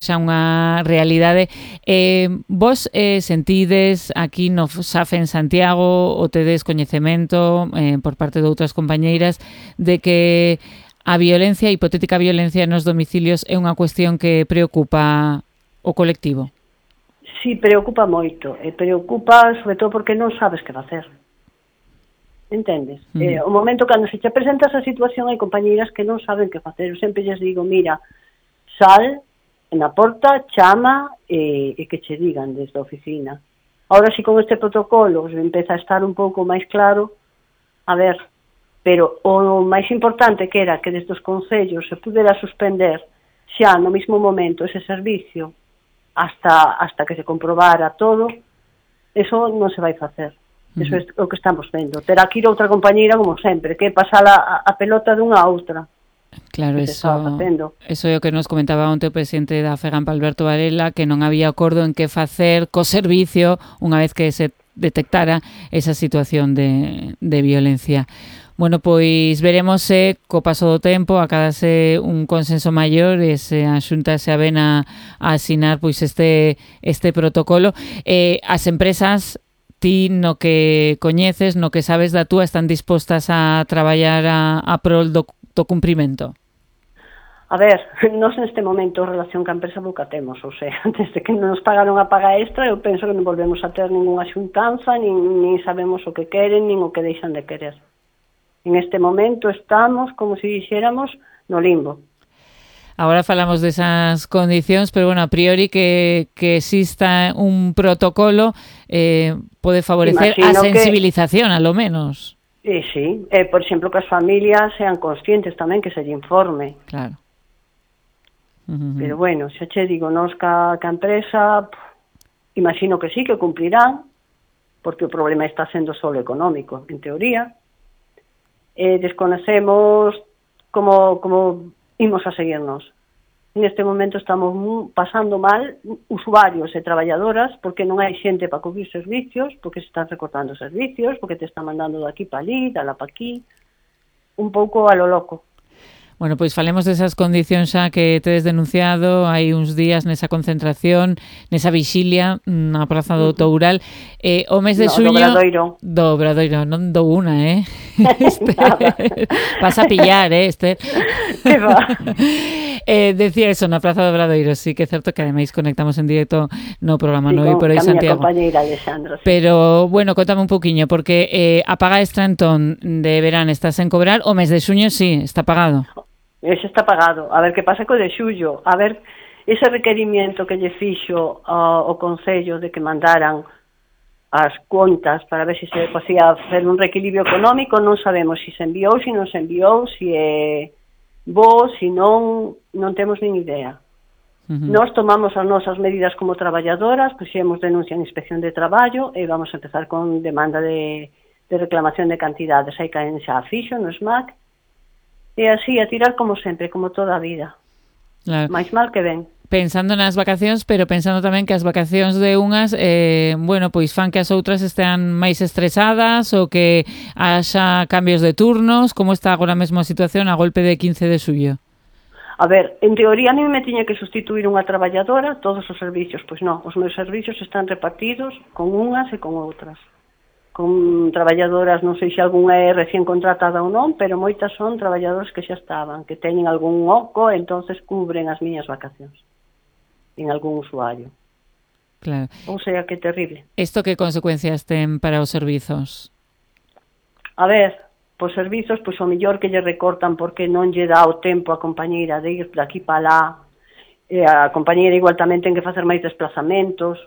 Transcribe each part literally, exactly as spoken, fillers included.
xa unha realidade. Eh, vos eh, sentides aquí no S A F en Santiago o tedes coñecemento eh, por parte de outras compañeiras de que a violencia, a hipotética violencia nos domicilios é unha cuestión que preocupa o colectivo? Sí, preocupa moito. E preocupa sobre todo porque non sabes que facer. Entendes? Uh-huh. Eh, o momento cando se te presenta esa situación hai compañeiras que non saben que facer. Eu sempre lles digo, mira, sal na porta, chama e, e que che digan desde a oficina. Ahora si con este protocolo empeza a estar un pouco máis claro, a ver, pero o máis importante que era que desde os concellos se pudera suspender xa no mismo momento ese servicio hasta hasta que se comprobara todo, eso non se vai facer. Eso é o que estamos vendo. Terá que ir outra compañeira como sempre, que pasar a, a pelota dunha a outra. Claro, eso, eso é o que nos comentaba onte o presidente da FEGAMP, Alberto Varela, que non había acordo en que facer co servicio unha vez que se detectara esa situación de, de violencia. Bueno, pois veremos se co paso do tempo acadase un consenso maior e se a Xunta se aven a, a asinar pois este, este protocolo. Eh, as empresas, ti no que coñeces, no que sabes da túa, están dispostas a traballar a, a prol do do cumprimento? A ver, nós neste momento a relación ca empresa nunca temos, ou sea, desde que nos pagaron a paga extra eu penso que non volvemos a ter ninguna xuntanza, nin, nin sabemos o que queren, nin o que deixan de querer. En este momento estamos, como se dixéramos, no limbo. Agora falamos desas condicións, pero bueno, a priori que, que exista un protocolo eh, pode favorecer Imagino a sensibilización, que... a lo menos. Eh, sí, eh, por exemplo, que as familias sean conscientes tamén, que se lle informe. Claro. Uh-huh. Pero bueno, xa che digo, nos ca, ca empresa, pff, imagino que sí, que cumplirán, porque o problema está sendo solo económico, en teoría. Eh, desconocemos como, como imos a seguirnos. Neste momento estamos pasando mal usuarios e traballadoras porque non hai xente para cubrir servicios, porque se están recortando servicios, porque te están mandando de aquí para ali, de lá para aquí, un pouco a lo loco. Bueno, pois falemos desas condicións xa que tedes denunciado hai uns días nesa concentración, nesa vixilia na Praza do Toural. Eh, o mes de no, xuño... Do Obradoiro. Do Obradoiro, non dou unha, eh? Este... Vas a pillar, eh, Esther? Que va? Eh, decía eso, na Praza do Obradoiro, sí que é certo que ademais conectamos en directo no programa sí, Noi por aí Santiago. Compañeira Alexandra, sí. Pero, bueno, contame un poquinho, porque eh, a paga extra entón de verán estás en cobrar, o mes de xuño sí, está pagado. Ese está pagado. A ver que pasa co de xullo. A ver, ese requerimiento que lle fixo uh, o Concello de que mandaran as contas para ver se se podía hacer un reequilibrio económico, non sabemos se se enviou, se non se enviou, se é bo, se non, non temos nin idea. Uh-huh. Nós tomamos as nosas medidas como traballadoras, puxemos denuncia en Inspección de Traballo e vamos a empezar con demanda de, de reclamación de cantidades. Hai caen xa a fixo no S M A C. E así, a tirar como sempre, como toda a vida. Claro. Mais mal que ben. Pensando nas vacacións, pero pensando tamén que as vacacións de unhas, eh, bueno, pois fan que as outras estean máis estresadas ou que haxa cambios de turnos. Como está agora mesmo a situación a golpe de quince de xullo? A ver, en teoría a mí me tiña que sustituir unha traballadora todos os servicios. Pois non, os meus servicios están repartidos con unhas e con outras. Con traballadoras, non sei se algunha é recién contratada ou non, pero moitas son traballadoras que xa estaban, que teñen algún oco, entonces cubren as miñas vacacións en algún usuario. Claro. Ou sea, que terrible. Isto que consecuencias ten para os servizos? A ver, pois servizos, pois o mellor que lle recortan porque non lle dá o tempo a compañeira de ir de aquí para lá, e a compañeira igual tamén ten que facer máis desplazamentos.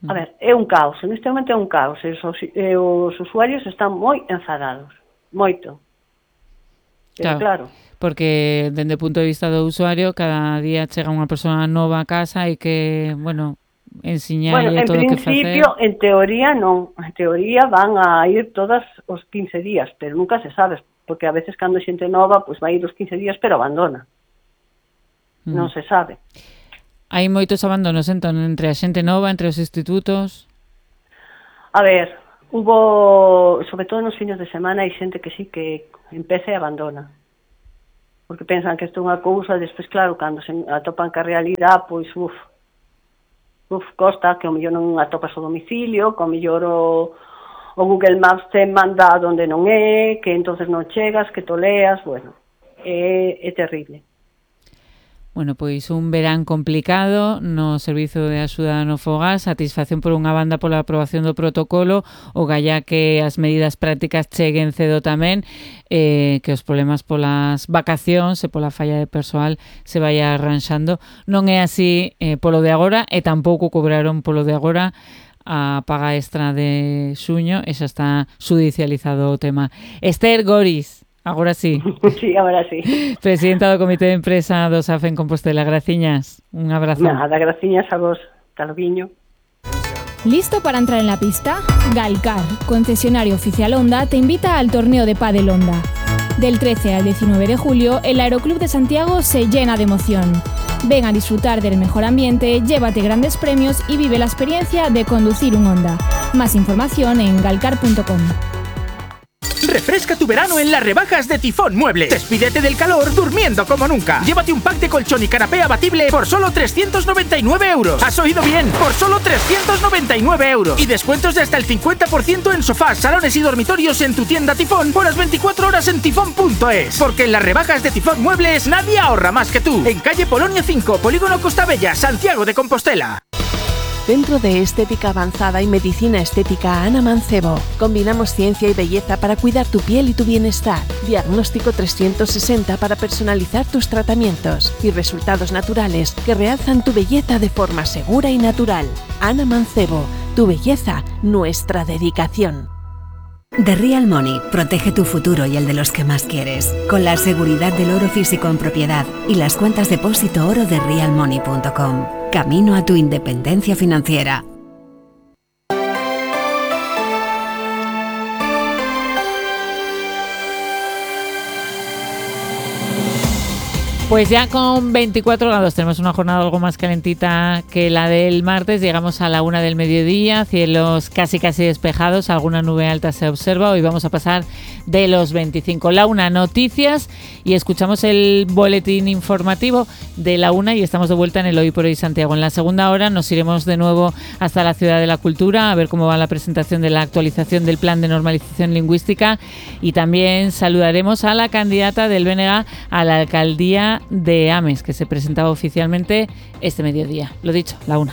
A ver, é un caos, neste momento é un caos, e os, e os usuarios están moi enfadados, moito. Pero claro, claro. Porque, dende o punto de vista do usuario, cada día chega unha persoa nova a casa e que, bueno, ensiñarlle bueno, todo o que facer. En principio, en teoría non, en teoría van a ir todos os quince días, pero nunca se sabe, porque a veces cando xente nova, pois vai ir os quince días, pero abandona. Mm. Non se sabe. Hai moitos abandonos, entón, entre a xente nova, entre os institutos? A ver, hubo, sobre todo nos fines de semana, hai xente que sí que empeza e abandona. porque pensan que isto é unha cousa, despois, claro, cando se atopan ca realidade, pois, uf, uf, costa, que ao mellor non atopas o domicilio, que ao mellor o, o Google Maps te manda onde non é, que entonces non chegas, que toleas, bueno, é, é terrible. Bueno, pois un verán complicado no Servizo de Axuda no Fogar, satisfacción por unha banda pola aprobación do protocolo, o galla que as medidas prácticas cheguen cedo tamén, eh, que os problemas polas vacacións e pola falla de persoal se vai arranxando. Non é así eh, polo de agora, e tampouco cobraron polo de agora a paga extra de xuño, e xa está judicializado o tema. Esther Goris. Agora sí. Sí, agora sí. Presidenta do Comité de Empresa do S A F en Compostela. Graciñas. Un abrazo. Nada, graciñas a vos. Talviño. ¿Listo para entrar en la pista? Galcar, concesionario oficial Honda, te invita al torneo de pádel Honda. Del trece al diecinueve de julio, el Aeroclub de Santiago se llena de emoción. Ven a disfrutar del mejor ambiente, llévate grandes premios y vive la experiencia de conducir un Honda. Más información en galcar punto com. Refresca tu verano en las rebajas de Tifón Muebles. Despídete del calor durmiendo como nunca. Llévate un pack de colchón y canapé abatible por solo trescientos noventa y nueve euros. ¿Has oído bien? Por solo trescientos noventa y nueve euros. Y descuentos de hasta el cincuenta por ciento en sofás, salones y dormitorios en tu tienda Tifón por las veinticuatro horas en tifón punto es. Porque en las rebajas de Tifón Muebles nadie ahorra más que tú. En calle Polonia cinco, Polígono Costa Bella, Santiago de Compostela. Centro de Estética Avanzada y Medicina Estética Ana Mancebo. Combinamos ciencia y belleza para cuidar tu piel y tu bienestar. Diagnóstico trescientos sesenta para personalizar tus tratamientos. Y resultados naturales que realzan tu belleza de forma segura y natural. Ana Mancebo. Tu belleza, nuestra dedicación. The Real Money protege tu futuro y el de los que más quieres, con la seguridad del oro físico en propiedad y las cuentas depósito oro de real money punto com. Camino a tu independencia financiera. Pues ya con veinticuatro grados tenemos una jornada algo más calentita que la del martes. Llegamos a la una del mediodía, cielos casi casi despejados, alguna nube alta se observa. Hoy vamos a pasar de los veinticinco. La una, noticias, y escuchamos el boletín informativo de la una y estamos de vuelta en el Hoy por Hoy Santiago. En la segunda hora nos iremos de nuevo hasta la Ciudad de la Cultura a ver cómo va la presentación de la actualización del Plan de Normalización Lingüística, y también saludaremos a la candidata del B N G a la alcaldía de Ames, que se presentaba oficialmente este mediodía. Lo dicho, la una.